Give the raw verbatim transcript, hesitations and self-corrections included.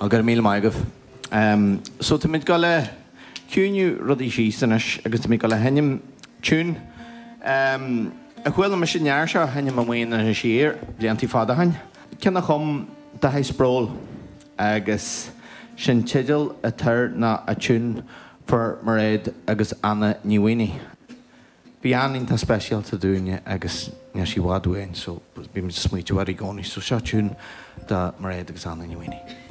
Go raibh míle maith agaibh. Um, so táimid ag dul a chiúnú rudaí síos anois agus táimid ag dul a sheinm tune. Um, a chuala mise an uair seo á sheinm amuigh in Inis Oírr blianta fada ó shin. Ceann a chum Dáithí Sproule agus sin teideal atá air ná A Tune for Mairéad agus Anna Ní Mhaonaigh. Bhí Anna iontach speisialta dúinne agus níl sí i bhfad uainn, so bímid ag smaointiú uirthi i gcónaí, so seo tune do Mairéad agus Anna Ní Mhaonaigh.